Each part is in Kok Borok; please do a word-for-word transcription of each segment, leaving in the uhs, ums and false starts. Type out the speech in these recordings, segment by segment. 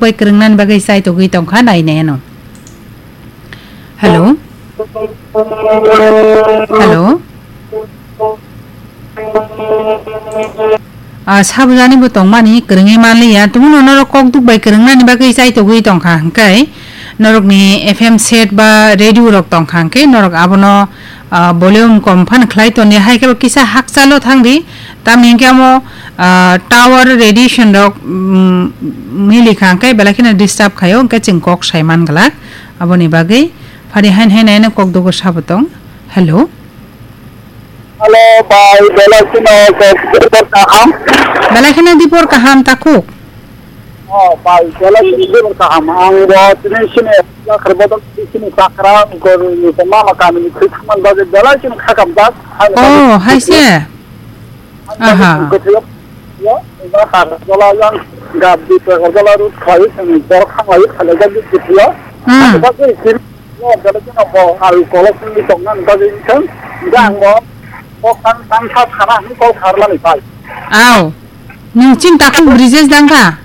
bai kwrwngnani bagwi chai togwi tongkha, nai nai ano. Hello? Hello? Ah, sabujani bo tongmani kwrwngwi manliya. Tumuno norok kok duk bai kwrwngnani bagwi chai togwi tongkha hwnkhe, norokni F M set ba radio rok tongkha hwnkhe, norok abono, ah, volume kom phan khlai toni, hai khe bo kisa hakchalo thangdi. Tamni hwnkhe amo, ah, tower radiation rok, mm, milikha hwnkhe belai kheno disturb khaio, hwnkhe chwng kok sai man glak. Aboni bagwi phari hain hain haino kok dugo sabo tong. Hello. Hello, bai, belai kheno kok dipor kaham. Belai kheno dipor kaham takhuk. Oh, bai, belai kheno dipor kaham. Ang bo tini sini yakhar bodol sini pakra gor ni mama kami ni khitman bagwi belai kheno khakam jak. Oh, hai se. Aha. Gothiyo, yo, ba har jola yang gab di pe jola rut khai sini bor khang lai khale jak di gothiyo. Hmm. Ba gothiyo. Lo, gale jeno bo, al kolok ni tong nang bagwi wngkha. Hingke ang bo, kok tang, tang sa sana hwnwi kok kharlani pai. Aw, nwng chini takhuk bridges dangkha?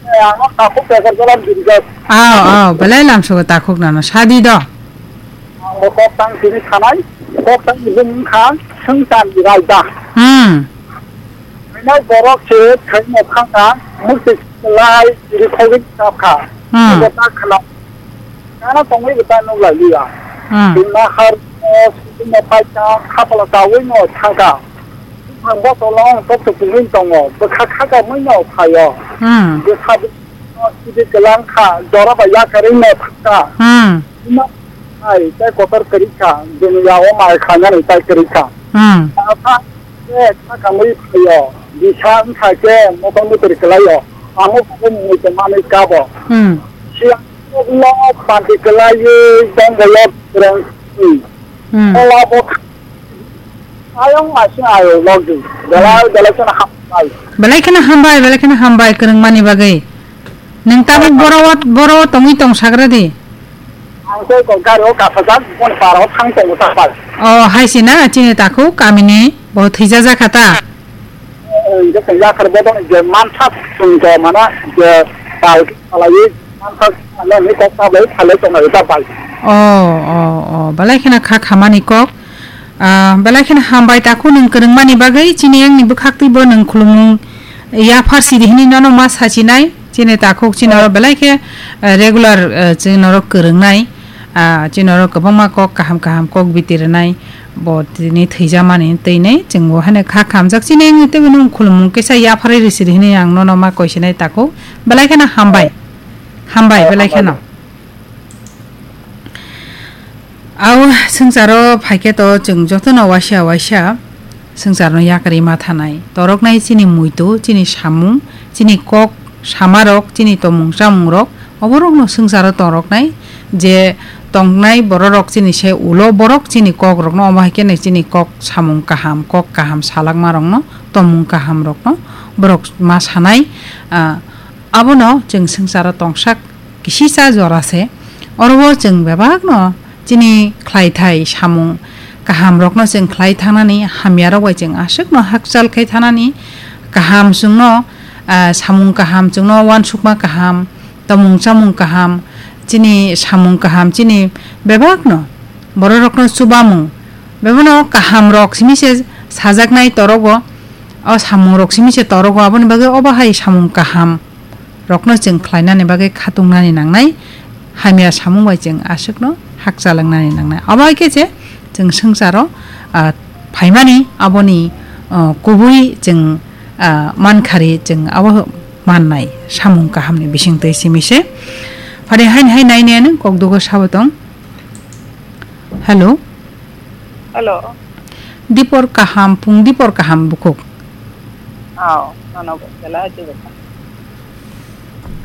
Eh, ang takhuk tekar jalan bridges. Aw, aw, belai lamsogo takhuk nano, sadi do. Ang bo kok tang sini sanai, kok tang ni bung wngkha, swngcharni raida. Hmm. Kainai borok se thaino thangkha, mukti lai chiri khogwi chapkha. Hmm. Bo ta khna. Kana tongwi bo ta nuk lai liya. Hmm. Bini nahar, eh, sini paikha, khapala chawi no thangkha. Ang bo tolong tok tok pungwi tongo. Bwkha khaka mui no phaio. Hmm. Bwkha sidi kelang kha, jora bai yakarwi no thangkha. Hmm. Bini ai tai kotor kwrwi kha, bini yago mai khanani tai kwrwi kha. Hmm. Asa Khe kha kamwi phaio, bisa wngkha khe motor motor kwlaio, amo khe mui tongmani kabo. Hmm. Siya no panti kwlaiwi tongbaio kwrwng. Hmm. Ola bo kha-, ayang masing ayo logdi. Belai belai kheno hambai. Belai kheno hambai, belai kheno hambai kwrwngmani bagwi. Nwng tabuk boro o, boro o tongwi tong sagra di. Ang khe kok gari o kasajak, bon para o thang tongo ta pai. O, hai se na, chini takhuk kamini bo thwijajak kha ta? Eh, je tong yakhar bodol je mansa chwng to mana je pal khalaiwi mansa ano ni kok ta bai phalai tongo ta pai. O, o, o, belai kheno kha khamani kok. Ah, belai kheno hambai takhuk nwng kwrwngmani bagwi, chini yang ni bwkhak twi bo nwng khulumung yaphar sidi hwnwi nono ma sachinai. Chini takhuk chini oro belai khe, eh, regular, eh, chini oro kwrwngnai, ah, chini oro kwbangma kok kaham kaham kok biti rwnai, bo tini thwijamani twi nai chwng bo haino kha khamjak chini wngwi tei bini khulumung kisa yapharwi rw sidi hwnwi ang nono ma koi sinai takhuk belai kheno hambai, hambai belai kheno. Au swngcharo phaikhe to chwng jotono waisa waisa swngcharno yakarwi ma thanai. Toroknai chini muitu, chini samung, chini kok samarok, chini tomung chamungrok, oborokno swngcharo toroknai je tongnai bororok chini se ulo borok chini kokrokno, omo hai khe chini kok samung kaham, kok kaham salakmarokno, tomung kahamrokno borok ma sanai, ah, abono chwng swngcharo tongsak kisisa jora se. Oro o chwng bebakno chini khlaithai samung kahamrokno chwng khlai thangnani hamyarok bai chwng aswkno hakchal khai thanani kaham chwngno, ah, samung kaham chwngno uansukma kaham, tomung chamung kaham, chini samung kaham chini bebakno bororokno chubamung bebakno kahamrok simi se sajaknai torogo, o samungrok simi se torogo, aboni bagwi obo hai samung kaham rokno chwng khlainani bagwi khatungnani nangnai, hamya samung bai chwng aswkno hakchalangnani nangnai. Abo hai khe se chwng swngcharo, ah, phaimani aboni, ah, kubui chwng, ah, mankhari chwng abo mannai samung kahamni bisingtwi simi se. Phari haini hai nai nai ano kok dugo sabo tong. Hello. Hello. Dipor kaham, pung dipor kaham bukhuk. Aw, nono bo belai dipor kaham.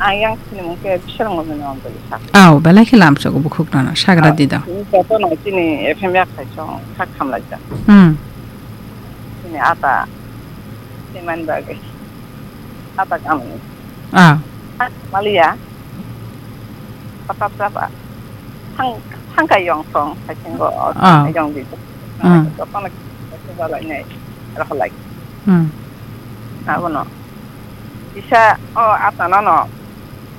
Ang yang sini mungke bisal ngono nong beli sak. Aw, belai khe lamsogo bukhuk nono, sagra di do. Ini joto no sini F M yak khai song, sak kham lai jak. Hmm. Sini ata, siman bagwi. Ata kami. Ah. Malia. Patap sapa. Thang, thangka yong song, hai sing go. Ah. Yong di. Hmm. Joto no, joto balai nai. Rokholai. Hmm. Abono. Bisa, o, ata no no.